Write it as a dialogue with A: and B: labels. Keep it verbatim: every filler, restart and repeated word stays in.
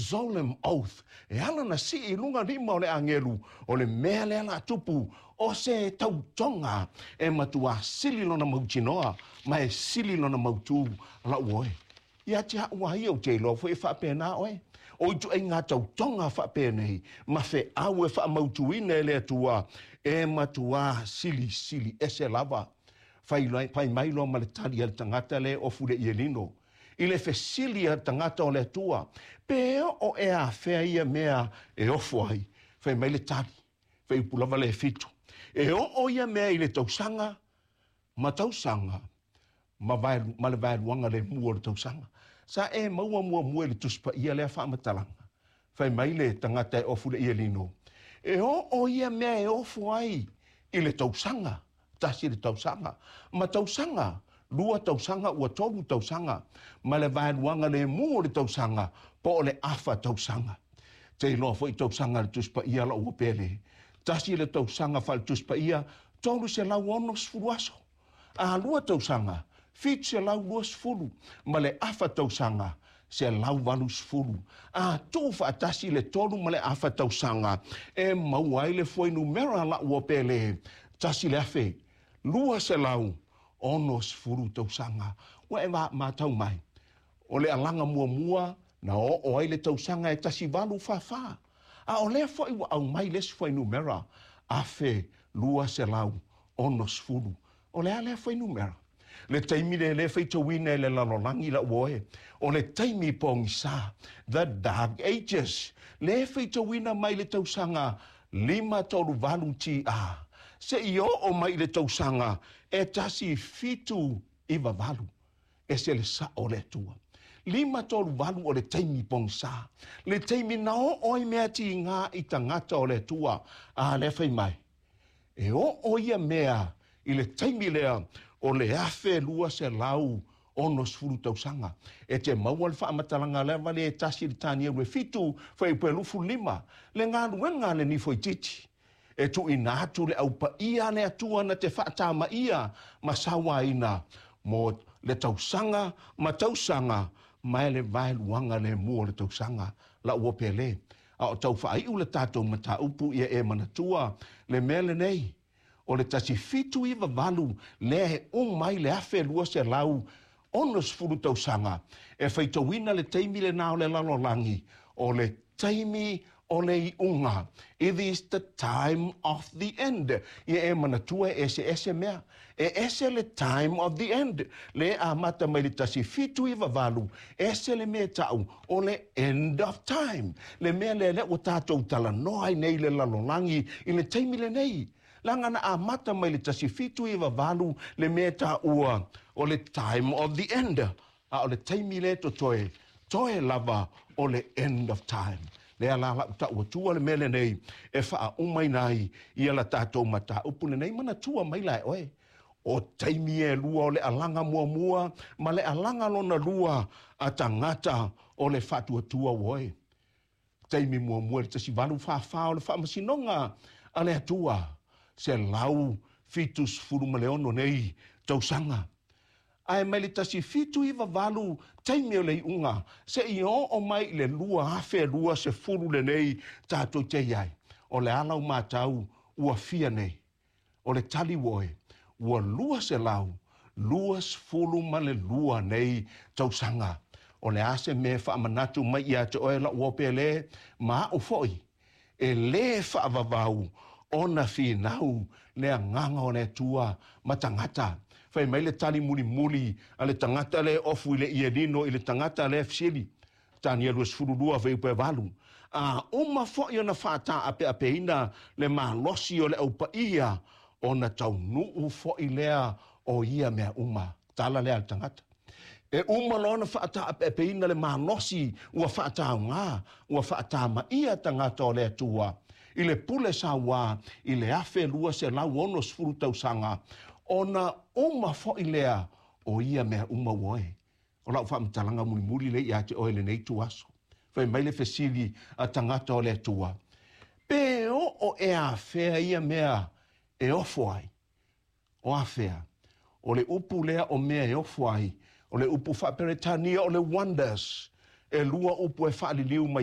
A: Solemn oath, e ala na sii i luga lima o le agelu, o le mea lea la tupu, o se tautoga e matuā sili lona mautinoa ma e sili lona mautū la'u oe. Ia te a'u a ia ou te iloa foi e faapena oe. O ituaiga tautoga faapenei ma feau e faamautuina e le Atua e matuā silisili ese lava. Fai, fai mai loa ma le tali a le tagata le ofu le ielino i le fesili a le tagata o le Atua, pe oo e afea ia mea e ofo ai? Fai mai le tali, fuaiupu lava le fitu, e oo ia mea i le tausaga ma tausaga ma, vaelu, ma le vaeluaga lemu o le tausaga. Sa e maua muamua i le Tusi Paia lea faamatalaga. Fai mai le tagata e ofu le ielino, e oo ia mea e ofo ai i le tausaga, tasi le tausaga, ma tausaga, lua tausaga ua tolu tausaga, ma le vaeluaga lemu o le tausaga, po o le afa tausaga. Te iloa foi tausaga le Tusi Paia la'u ua pele. Tasi le tausaga faale Tusi Paia, tolu selau ono sefulu aso. A lua tausaga, fitu selau lua sefulu, ma le afa tausaga, selau valu sefulu. A tuu faatasi le tolu ma le afa tausaga, e maua ai le fuainumera la'u ua pele, tasi le afe, lua selau ono sefulu tausaga. Ua e matau mai, o le alaga muamua na oo ai le tausaga e tasi valu fāfā. A o lea foi ua aumai le isi fuainumera, afe lua selau ono sefulu. O le a lea fuainumera? Le taimi le le faitauina e le lalolagi la'u oe, o le taimi pogisā, the Dark Ages, le faitauina mai le tausaga lima tolu valu T A, seia oo mai i le tausaga e tasi fitu iva valu. Ese le sa'o o le Atua. Lima tolu valu o le taimi pogisā, le taimi na oo ai mea tigā i tagata o le Atua. A lea fai mai, e oo ia mea i le taimi lea o le afe lua selau ono sefulu tausaga. E te maua le faamatalaga lava le tasi le Tanielu e fitu, fuaiupu e lufu lima, le galuega a le nifoititi. E tuuina atu le aupaia le Atua na te faatamaia ma sauaina mo le tausaga ma tausaga ma e le vaeluaga lemu o le tausaga la'u ua pele. A o tau faaiu le tatou mataupu, ia e manatua le mea lenei, o le tasi fitu iva valu lea e uma ai le afe lua selau ono sefulu tausaga. E faitauina le taimi lenā o le lalolagi o le taimi o le iuga. It is the time of the end. Ia e manatua e eseese mea. E ese le time of the end, le amata mai le tasi fitu iva valu, ese le mea ta'u o le end of time. Le mea lea lea ua tatou talanoa ai nei le lalolagi i le taimi lenei. Laga na amata mai le tasi fitu iva valu le mea ta'ua o le time of the end. A o le taimi le totoe, toe lava o le end of time. Lea la la'u ta'u atua le mea lenei e faaumaina ai ia la tatou mataupu lenei. Manatua mai la e oe, o taimi e lua o le alaga muamua ma le alaga lona lua a tagata o le faatuatua oe. Taimi muamua le tasi valu fāfā o le faamasinoga a le Atua, selau fitu sefulu ma le ono nei tausaga. Ae mai le tasi fitu iva valu, taimi o le iuga, seia oo mai i le lua afe lua sefulu lenei tatou te iai. O le ala o matau ua fia nei? O le tali oe, ua lua selau lua sefulu ma le lua nei tausaga. O le a se mea faamanatu mai ia te oe la'u opele ma a'u fo'i? E lē faavavau ona finau le agaga o le Atua ma tagata. Fai mai le tali mulimuli a le tagata le ofu i le ielino i le tagata le fesili, Tanielu sefulu lua fuaiupu e valu, a uma fo'i ona faataapeapeina le malosi o le aupaia, ona taunuu fo'i lea o ia mea uma. Tala lea a le tagata. E uma loa ona faataapeapeina le malosi ua faataugā ua faatamaia tagata o le Atua i le pule sauā i le afe lua selau ono sefulu tausaga, ona uma fo'i lea o ia mea uma ua oe. O la'u faamatalaga mulimuli le ia te oe lenei tuaso. Fai mai le fesili a tagata o le Atua, pe oo e afea ia mea e ofo ai? O afea? O le upu lea o mea e ofo ai, o le upu faaperetania o le wonders. E lua upu e faaliliu mai.